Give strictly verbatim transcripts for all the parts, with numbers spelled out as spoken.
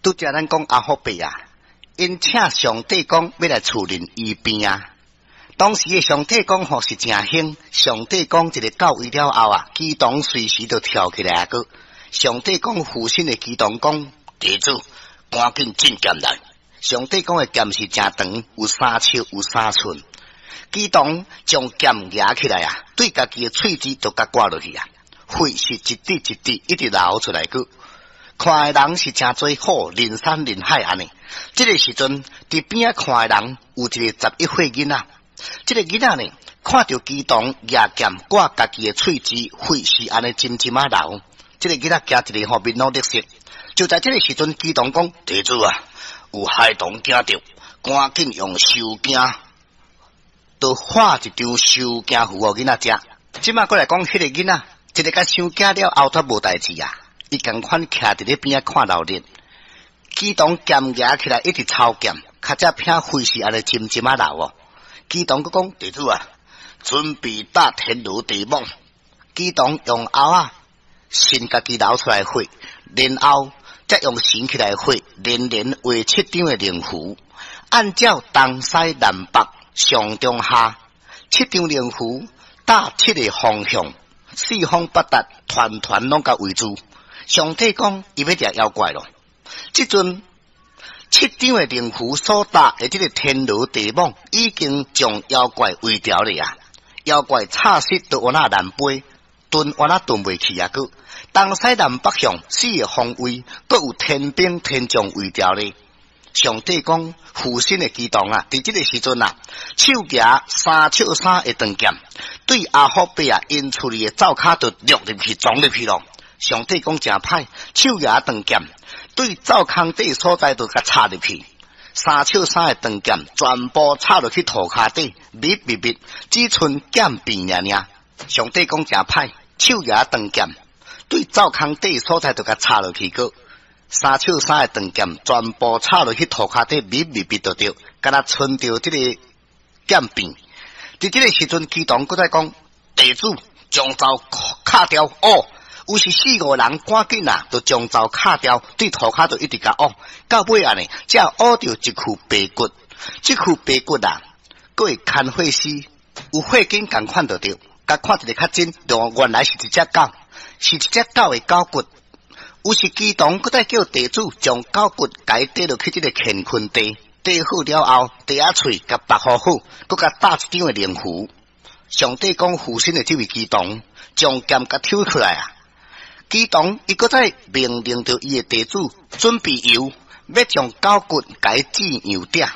拄才咱講阿福伯啊，𪜶請上帝公欲來厝認醫病啊。當時的上帝公吼是誠興，上帝公一个到位了後啊，乩童隨時就跳起來啊閣。上帝公附身的乩童講：地主，趕緊進劍來。上帝公的劍是誠長，有三尺有三寸。乩童將劍舉起來啊，對家己的喙舌就共割落去啊，血是一滴一滴一直流出來閣。看的人是誠濟好，人山人海按呢。這个時陣，佇邊仔看的人有一个十一歲囡仔。這个囡仔呢，看著乩童舉劍割家己的喙舌，血是按呢針針仔流。這个囡仔驚一个吼面攏綠色。就在這个時陣，乩童講：地主啊，有孩童驚著，趕緊用收驚，就畫一張收驚符予囡仔食。這馬過來講，彼个囡仔，一个共傷驚了後，煞無代誌啊！伊仝款徛佇咧邊仔看鬧熱，乩童劍舉起來一直抽劍，跤脊片血是按呢針針仔流哦。乩童閣講：地主啊，準備打天羅地網。乩童用甌仔擤家己流出來血，然後才用繩起來畫，連連畫七張的靈符，按照東西南北上中下七張靈符打七个方向，四方八達，團團攏共圍住。上帝講，伊欲掠妖怪囉。這陣七張的靈符所搭的這个天羅地網，已經將妖怪圍牢了啊！妖怪插死都有那難飛，遁有那遁袂去啊！閣東西南北向四个方位，閣有天兵天將圍牢咧。上帝講，附身的乩童啊，佇這个時陣啊，手舉三尺三的長劍，對阿福伯啊，𪜶厝裡的灶跤就掠入去，撞入去囉。上帝講誠歹，手舉長劍對灶空底所在就共插入去，三尺三的長劍全部插落去塗跤底，密密密，只賰劍柄爾爾。上帝講誠歹，手舉長劍對灶空底所在就共插落去閣，三尺三的長劍全部插落去塗跤底，密密密就對，敢若賰著這个劍柄。佇這个時陣，乩童閣再講，地主將灶敲掉哦。有是四五人趕緊啊，就將灶敲掉，對塗跤就一直共挖，到尾按呢，才挖著一具白骨。這具白骨啊，閣會牽血絲，有血筋仝款就對，共看一个較真，就原來是一隻狗，是一隻狗的狗骨。有時乩童閣再叫地主將狗骨共綴落去這个乾坤袋，綴好了後，袋仔喙共縛好好，閣共打一張的靈符。上帝講附身的這位乩童，將劍共抽出來啊！乩童伊閣再命令著伊的地主準備油，欲將狗骨共煎油鼎。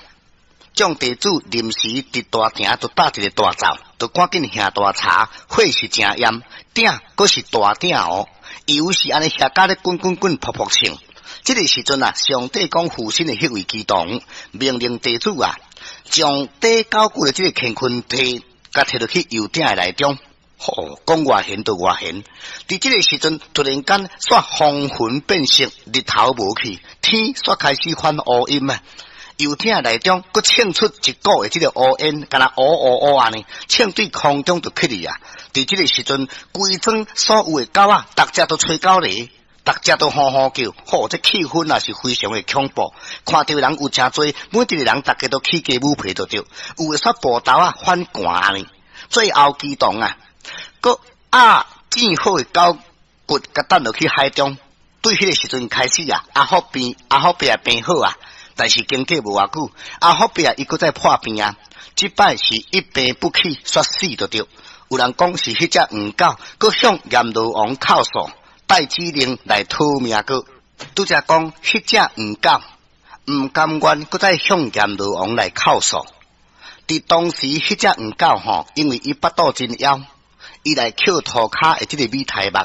眾地主臨時佇大埕就搭一个大灶，就趕緊下大柴，火是誠炎，鼎閣是大鼎哦，油是按呢下甲咧滾滾滾，噗噗衝。這个時陣啊，上帝講附身的彼位乩童命令地主啊，將綴狗骨的這个乾坤袋，共提落去油鼎的內中。吼，講偌玄就偌玄。佇這个時陣，突然間，煞風雲變色，日頭無去，天煞開始翻烏陰啊！油鼎內中，閣衝出一股的這个烏煙，敢若烏烏烏按呢，衝對空中就去去啊！佇這个時陣，規莊所有的狗仔，逐隻都吹狗螺，逐隻都吼吼叫，吼，這氣氛也是非常的恐怖。看著人有誠濟，每一个人逐家都起雞母皮就對，有的煞步頭啊反寒按呢。最後乩童啊！閣壓煎好的狗骨，共擲落去海中。對彼个時陣開始啊，阿福病，阿福伯病好啊，但是經過無偌久，阿福伯伊閣再破病啊。這擺是一病不起，煞死就對。有人講是彼隻黃狗，閣向閻羅王哭訴，帶指令來討命閣。拄才講彼隻黃狗毋甘願，閣再向閻羅王來哭訴。佇當時，彼隻黃狗吼，因為伊腹肚真枵。伊來抾塗跤的這个米苔目，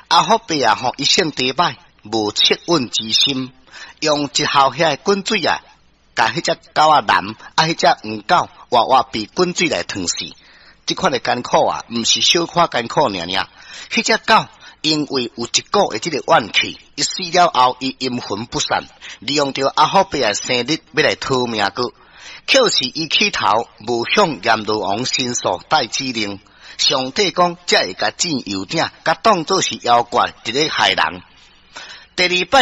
阿福伯啊吼，伊性地歹，無惻隱之心，用一喉遐的滾水啊，共彼隻狗仔淋，啊，彼隻黃狗活活被滾水來燙死。這款的艱苦啊，毋是小可艱苦爾爾。彼隻狗因為有一股的這个怨氣，伊死了後，伊陰魂不散，利用著阿福伯的生日欲來討命閣，可是伊起頭無向閻羅王申訴帶指令。上帝講，才會共煎油鼎，共當做是妖怪，佇咧害人。第二擺。